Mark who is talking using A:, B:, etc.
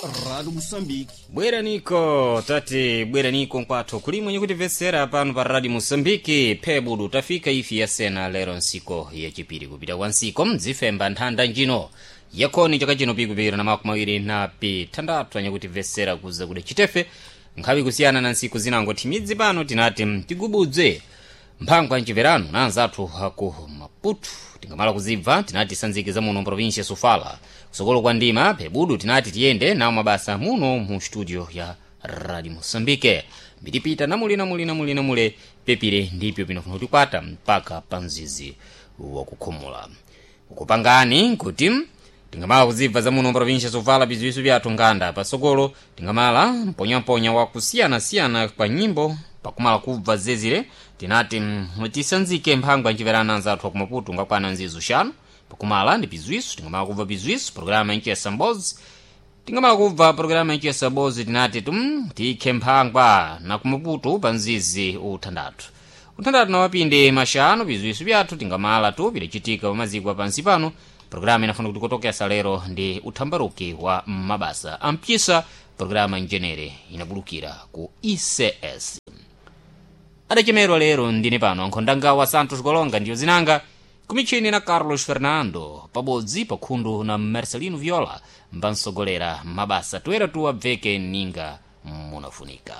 A: Rádio Moçambique.
B: Bweraniko tati bweraniko nkwathu kulimwe nyikutimvetsera pano pa Radio Moçambique phebudu tafika ifi yasena lero nsiko yachipiri kupita kwa nsiko mdzifemba nthanda njino yakhoni chaka chino pikupikira na makumi awiri na pithandathu anyakutimvetsera kuza kuda chitefe nkhawi kusiyana na nsiku zinango thimidzi pano tinati tigubudze mphango amchiverano na anzathu aku Maputo tingamala kuzibva tinati sanzike muno provincia Sofala kusokolo kwa ndima phebudu tinati tiyende nawo mabasa muno mu studio ya Radio Moçambique mbitipita namule namule namule namule pepire ndipyo pinofuna kutikwata mpaka pa mzizi wakukhumula ukupangani kuti tingamala kuzibva za muno provincia Sofala biziwiso byathu nganda pasokolo tingamala mponyamponya wakusiyanasiyana kwa nyimbo pakumala kubva zezire tinati tisanzike mphangwa nchiverana anzathu akumaputu ngakwana nzizu xanu pakumala ndi bizwiso tingamala kubva bizwiso programa yanchiyesa mbozi tingamala kubva programa yanchiyesa mbozi tinati tum tikhe mphangwa na kumaputu pa mzizi uthandathu uthandathu na mapindi maxanu bizwiso byathu tingamala tu pidacitika pamaziko apansi pano programa inafuna kuti kutokesa lero ndi uthambaruki wa mabasa ampyisa programa njenere inabulukira ku ICS adachemerwa lero ndine pano ankhondanga wa Santos Golonga ndiyo zinanga kumichini na Carlos Fernando pabodzi pakhundu na Marcelino Viola mbansogolera mabasa toera tuwabveke ninga munafunika.